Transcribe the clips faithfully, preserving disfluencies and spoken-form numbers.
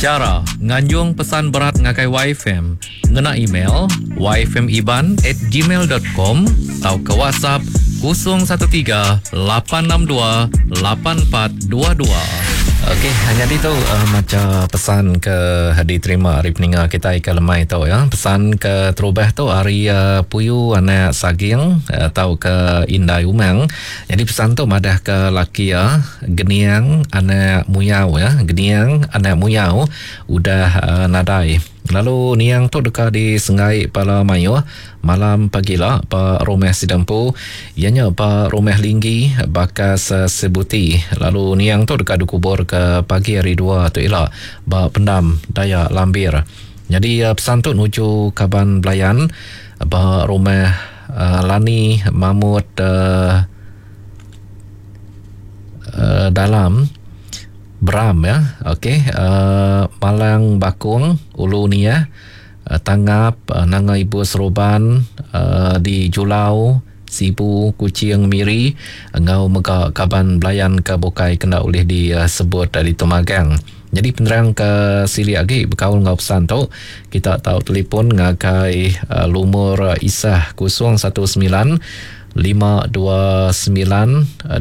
Chara nganjung pesan berat ngagai Y F M ngena email y f m iban at gmail dot com tauka WhatsApp kosong satu tiga lapan enam dua lapan empat dua dua. Okey, jadi tu uh, macam pesan ke diterima hari peninga kita ke lemai tu ya. Pesan ke terubah tu hari uh, Puyu anak Saging atau uh, ke Indai Umang. Jadi pesan tu madah ke laki ya, Geniang anak Muyau ya, Geniang anak Muyau udah uh, nadai. Lalu niang tu dekat di Sengai Pala Mayuh malam pagi lah pak rumah Sidampu ianya pak rumah Linggi bakas uh, Sebuti. Lalu niang tu dekat dikubur ke pagi hari dua tu elak bak pendam Dayak Lambir. Jadi uh, pesan tu nuju kaban belayan bak rumah uh, Lani Mamut uh, uh, dalam Beram ya. Okey, uh, Malang Bakung Ulu ni ya. Uh, Tangap uh, Nanga Ibu Seruban uh, di Julau Sibu Kuching Miri ngau mega kaban belayan ke bukai kena oleh disebut dari Temagang. Jadi penerang ke sili lagi berkaul ngau pesan tu kita tahu telefon ngagai uh, lumur Isah kosong satu sembilan lima dua sembilan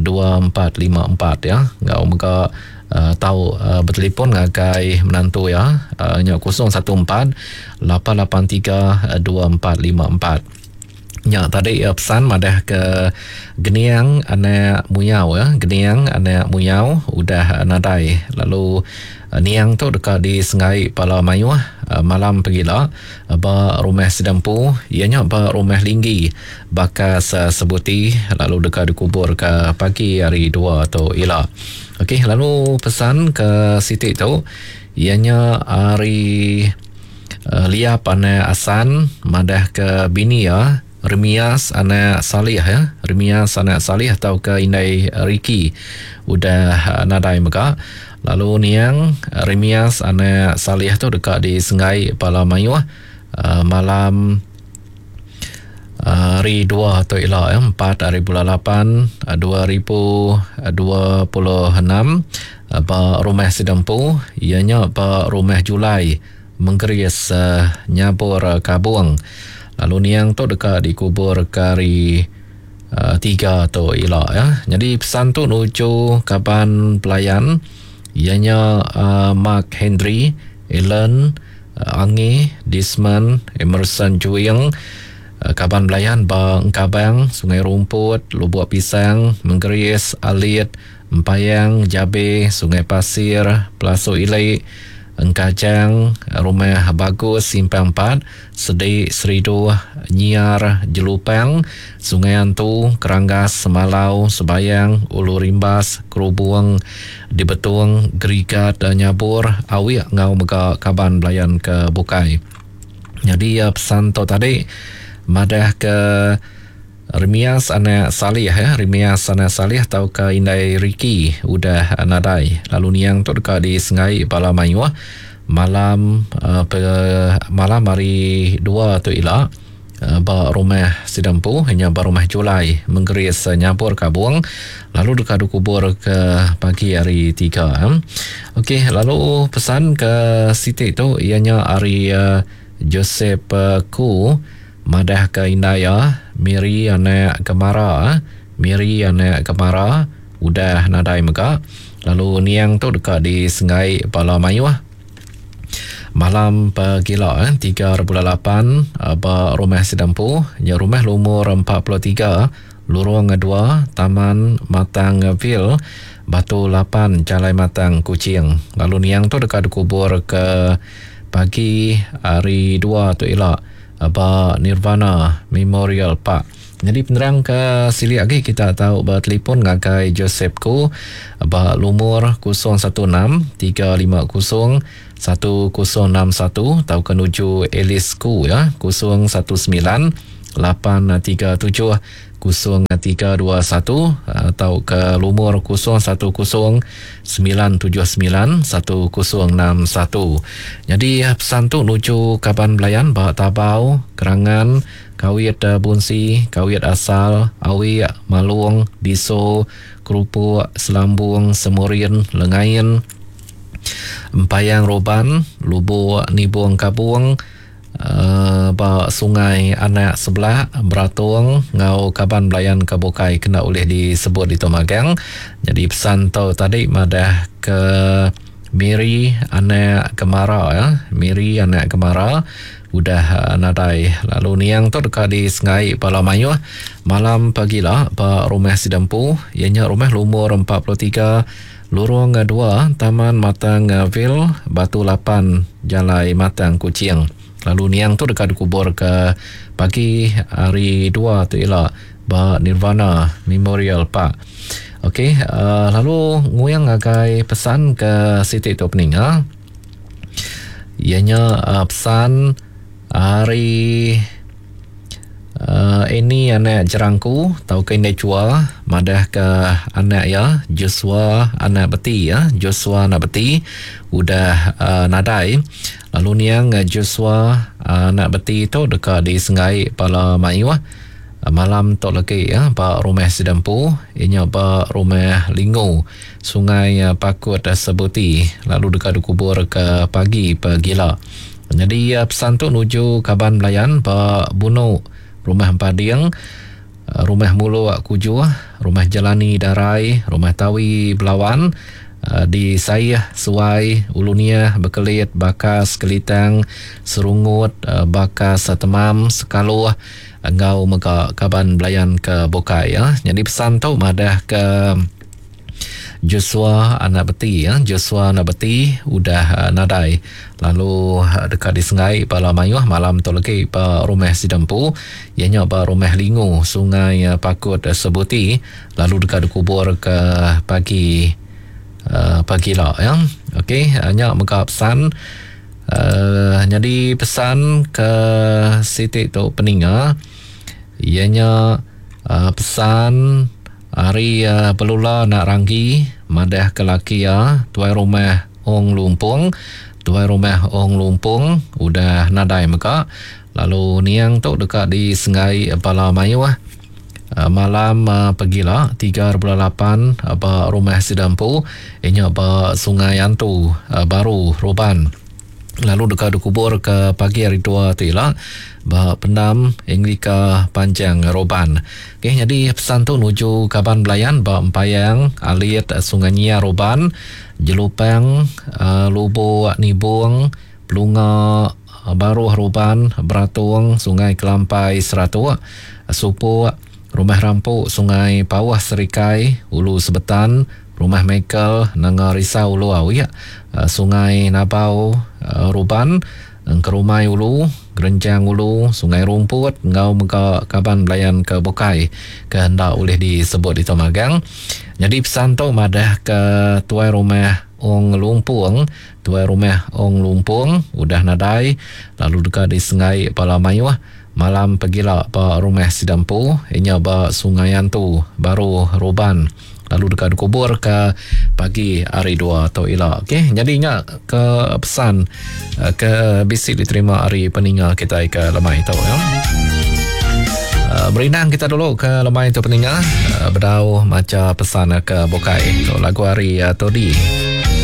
dua empat lima empat ya. Ngau mega Uh, tahu uh, bertelefon ngagai menantu ya uh, nya kosong satu empat lapan lapan tiga dua empat lima empat. Nya tadi uh, pesan madah ke Geniang anak Muyau ya, Geniang anak Muyau udah uh, nadai. Lalu uh, niang tu dekat di Sengai Pala Mayuh uh, malam pegila uh, ba rumah Sidampu ianya ba rumah Linggi bakas uh, Sebuti lalu dekat dikubur ke pagi hari dua tu ila. Okey, lalu pesan ke Siti tu ianya hari uh, Liap anak Asan madah ke bini ya Remias anak Salih ya, Remias anak Salih atau ke Indai Riki udah uh, nadai mega. Lalu niang Remias anak Salih tu dekat di Sengai Pala Mayuh uh, malam hari dua atau ila ya, empat hari bulan lapan dua ribu dua puluh enam ba rumah Sidampu ianya ba rumah Julai Menggeris uh, Nyabur Kabung. Lalu niang tu dekat dikubur ke hari uh, tiga tu ila ya. Jadi pesan tu nuju kaban pelayan ianya uh, Mark Henry, Ellen, uh, Angi, Disman, Emerson Juing, kaban belayan ba Engkabang, Sungai Rumput, Lubuk Pisang, Menggeris, Alit, Empayang, Jabe, Sungai Pasir, Pelasu Ilik, Engkajang, Rumah Bagus, Simpang Empat, Sedik, Seridu, Nyiar, Jelupang, Sungai Antu, Keranggas, Semalau, Sebayang, Ulu Rimbas, Kerubung, Dibetung, Gerigat, Nyabur, Awik, ngau mega kaban belayan ke Bukai. Jadi pesan tu tadi madah ke Remias anak Salih ya, Remias anak Salih atau ke Indai Riki udah nadai. Lalu niang tu dekat di Sengai Pala Mayuh malam uh, pe, malam hari dua tu ila uh, ba rumah Sidampu hanya ba rumah Julai Menggeris uh, Nyabur Kabung lalu dekat dikubur ke pagi hari tiga. Eh. Okey, lalu pesan ke Siti tu ianya hari uh, Joseph uh, Ku madah ke Indaya Miri anak Kemara, Miri anak Kemara udah nadai mega. Lalu niang tu dekat di Sengai Pala Mayuh malam pagila eh, tiga bulan lapan ba rumah Sidampu nya rumah lumur empat puluh tiga Lorong dua Taman Matang Ville Batu lapan Jalai Matang Kuching. Lalu niang tu dekat dikubur ke pagi hari dua tu ila ba Nirvana Memorial Park. Jadi penerang ke sili lagi kita tahu bertelefon ngagai Joseph Ku ba lumur kosong satu enam tiga lima kosong satu kosong enam satu atau ke nuju Alice Ku ya kosong satu sembilan lapan tiga tujuh kosong tiga dua satu atau ke lumur kosong satu kosong sembilan tujuh sembilan satu kosong enam satu. Jadi pesan tu nuju kaban belayan bak Tabau, Kerangan, Kawit Bunsi, Kawit Asal, Awik, Malung, Diso, Kerupuk, Selambung, Semurin, Lengain, Empayang Roban, Lubuk Nibung Kabung, uh, ba Sungai Anak Sebelah, Beratung ngau kaban belayan ke bukai kena ulih disebut di magang. Jadi pesan tu tadi madah ke Miri anak Kemara ya. Miri anak Kemara udah uh, nadai. Lalu niang tu dekat di Sengai Pala Mayuh malam pagila ba rumah Sidempu, ianya rumah lumur empat puluh tiga Lorong dua Taman Matang Ville, Batu lapan, Jalai Matang Kuching. Lalu niang tu dekat dikubur ke pagi hari dua tu ila ba Nirvana Memorial Park. Okey, uh, lalu nguyang agai pesan ke siti tu peninga. Ianya uh, pesan hari uh, ini anak jerangku tau ke indai cua madah ke anak ya Joshua anak beti ya Joshua anak beti udah uh, nadai. Lalu niang Joshua uh, anak beti tu dekat di Sengai Pala Mayuh malam tu lagi ya ba rumah Sidempu, ianya ba rumah Lingu Sungai Pakut Sebuti, lalu dekat dikubur ke pagi pagila. Jadi pesan tu nuju kaban belayan ba Bunu, Rumah Empading, Rumah Muluk Kujuh, Rumah Jelani Darai, Rumah Tawi Belawan, di Sayah, Suai, Ulunia, Bekelit, Bakas, Kelitang, Serungut, Bakas, Temam, Sekaluh, engau mega kaban belayan ke bukai ya. Jadi pesan tu madah ke Joshua anak beti ya, Joshua anak beti udah uh, nadai. Lalu uh, dekat di Sengai Pala Mayuh malam tu lagi ba rumah Sidempu, ianya ba rumah Lingu Sungai uh, Pakut uh, Sebuti, lalu dekat dikubur ke pagi uh, pagi lah ya. Okey, uh, nya mega pesan uh, jadi pesan ke siti tu peninga, ianya uh, pesan hari uh, Pelula nak ranggi madah ke laki ya tuai rumah Ong Lumpung, tuai rumah Ong Lumpung udah nadai mega. Lalu niang tu dekat di Sengai Pala Mayuh uh, malam uh, pagila tiga bulan lapan uh, ba rumah Sidampu, inya ba Sungai Antu uh, Baru Roban. Lalu dekat dikubur ke pagi hari dua tu ila ba pendam Anglika Panjang Roban. Okey, jadi pesan tu nuju kaban belayan ba Empayang, Alit, Sungai Nyia Roban, Jelupang, uh, Lubuk Nibung, Pelunga, Baruh Roban, Beratung, Sungai Kelampai Seratuk, Supuk, Rumah Rampuk, Sungai Pawah Serikai, Ulu Sebetan, Rumah Michael, Nanga Risau Ulu Awi, Sungai Nabau, Ruban, Engkerumai Ulu, Gerenjang Ulu, Sungai Rumput, ngau mega kaban belayan ke bukai ke hendak boleh disebut di Tomagang. Jadi pesan tu madah ke tuai rumah Ong Lumpung, tuai rumah Ong Lumpung udah nadai, lalu dekat di Sengai Pala Mayuh malam pagila ba rumah Sidampu, inya ba Sungai Antu Baru Roban, lalu dekat dikubur ke pagi hari dua atau ila. Okey, jadi nya ke pesan ke bisi diterima hari peninga kita ke lemai tu ya. Uh, berinang kita dulu ke lemai tu peninga, uh, bedau maca pesan ke bukai. Tu lagu hari uh, Todi.